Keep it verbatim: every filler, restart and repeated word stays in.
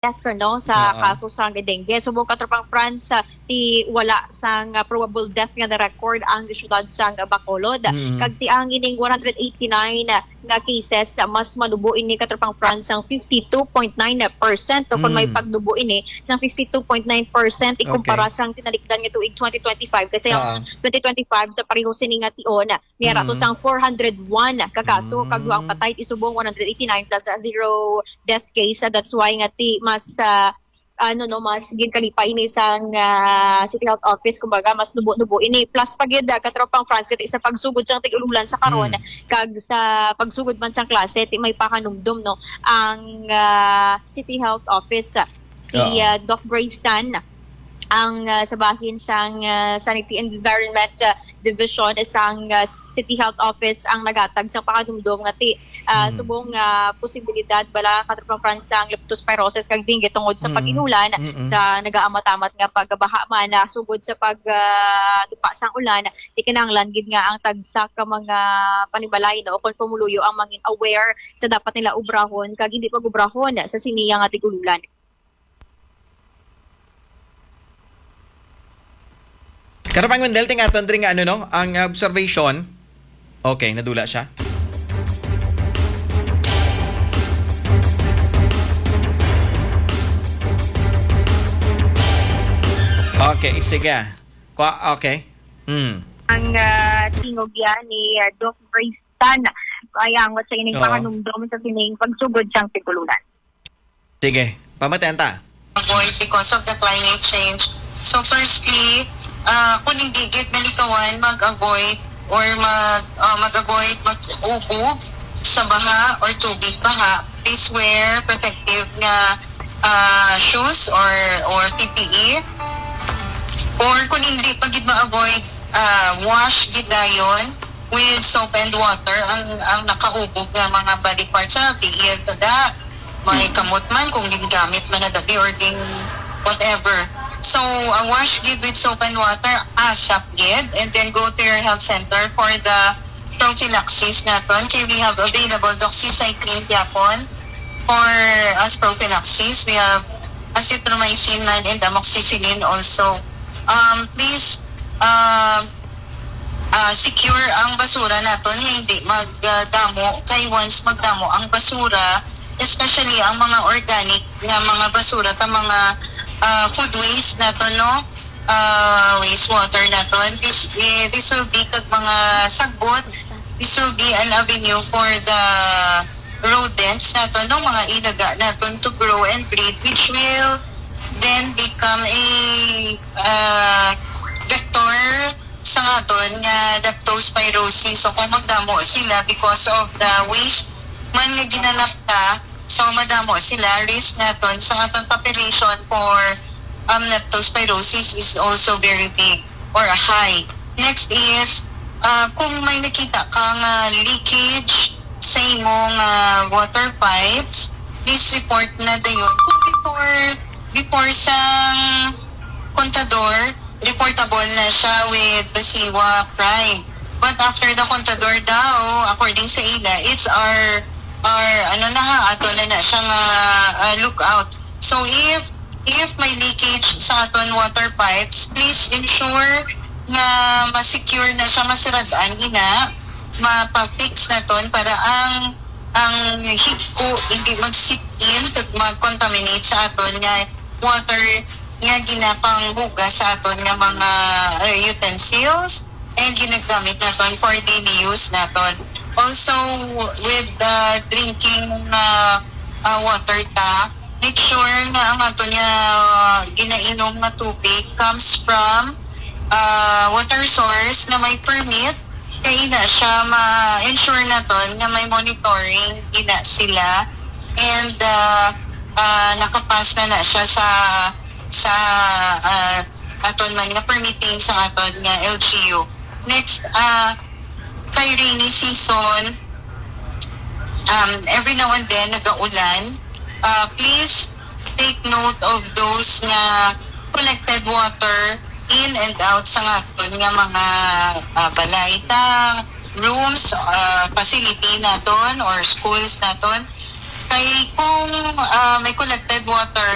death, no, sa Oo. kaso sang dengue. Subong, Katropang Franz, ah, ti wala sang, ah, probable death nga na-record ang syudad sang Bacolod. Mm. Kag ti ang ining one hundred eighty-nine nga cases, ah, mas manubo ini, Katropang Franz, sang fifty-two point nine percent, o kung may Mm. pagnubo ini sang fifty-two point nine percent ikumpara Okay. sang tinalikdan nga tuig twenty twenty-five. Kasi ang Oo. twenty twenty-five sa pareho sini nga tion, may ara to Mm. sang four hundred one ka kaso, kag duha ang Mm. patay, ti subong one hundred eighty-nine plus zero death case. Ah, that's why nga ti mas, ah, ano, no, mas ginkalipa ini sang, ah, City Health Office, kumbaga, mas nubo-nubo ini. Plus pa gid, ah, Katropang Franz, kay sa pagsugod sang tig-ulolan sa karon, Mm. kag sa pagsugod man sang klase, ti may pakanumdom, no, ang, ah, City Health Office, ah, si, Oo. ah, Doc Grace Tan, ang, ah, sa bahin sang, ah, Sanity and Environment, ah, Division, sang, ah, City Health Office ang nagatag sang pakanumdom nga ti, ah, Mm. subong nga posibilidad bala, Katropang Franz, sang leptospirosis kag dengue tungod sa Mm. pag-inulan, Mm-mm. sa nagaamat-amat nga pagbaha man, ah, sugod sa pag, ah, tupa sang ulan, ti kinahanglan gid nga ang tagsa ka mga panimalay, no, o kon pumuluyo ang mangin aware sa dapat nila obrahon kag hindi pag-obrahon sa sini nga tig-ulolan. Katropang Wendell, ting aton diri nga ano, no, ang observation. Okay, nadula siya. Okay, sige. Kwa-, okay. Mm. Ang, ah, tingog yan ni, ah, Doc Grace Tan. Kaya ang sa ining Oo. panganumdom sa sining pagsugod sang tig-ulolan. Sige, pamatentan ta. Avoid because of the climate change. So firstly, ah, kung hindi gid nalikawan, mag-avoid or mag, ah, mag-avoid mag-ubog sa baha or tubig baha. Please wear protective nga, ah, shoes or, or P P E. Or kung hindi pa gid ma-avoid, ah, wash gid dayon with soap and water ang, ang nakaubog nga mga body parts, sa tiil, tada, may kamot man kung gingamit man na dati or gin whatever. So, a wash gid with soap and water, ASAP gid, and then go to your health center for the prophylaxis naton. Kay we have available doxycycline gyapon for as prophylaxis. We have azithromycin man and amoxicillin also. Um, please, um, ah, secure ang basura naton nga hindi magdamo, kay once magdamo ang basura, especially ang mga organic nga mga basura, ta mga, ah, food waste naton, no? Ah, wastewater naton. This, eh, this will be kag mga sagbot. This will be an avenue for the rodents naton, no? Mga ilaga naton to grow and breed, which will then become a, ah, vector sa aton nga leptospirosis. So, kung magdamo sila because of the waste man nga ginalapta, so madamo sila, risk naton sa aton population for, um, leptospirosis is also very big or high. Next is, ah, kung may nakita ka nga leakage sa imong, ah, water pipes, please report na dayon. Kung before, before sang Contador, reportable na siya with Basiwa Prime. But after the Contador daw, according sa ila, it's our, our, ano na ha, ato na na siya nga, ah, lookout. So if, if may leakage sa aton water pipes, please ensure nga ma-secure na siya, masirad-an ina, mapa-fix naton para ang, ang higko hindi mag-seep in kag mag-contaminate sa aton nga water nga ginapanghugas sa aton nga mga, eh, utensils and ginagamit naton for daily use naton. Also, with the drinking, uh, uh, water ta, make sure nga ang aton nga ginainom nga tubig comes from, uh, water source na may permit, kay ina siya ma-ensure naton nga may monitoring ina sila and, uh, uh, nakapas na na siya sa, sa, uh, aton man nga permitting sa aton nga L G U. Next, uh, kay rainy season, um, every now and then nagaulan. Uh, please take note of those nga collected water in and out sa aton nga mga, uh, balay ta, rooms, uh, facility naton or schools naton. Kay kung ah, may collected water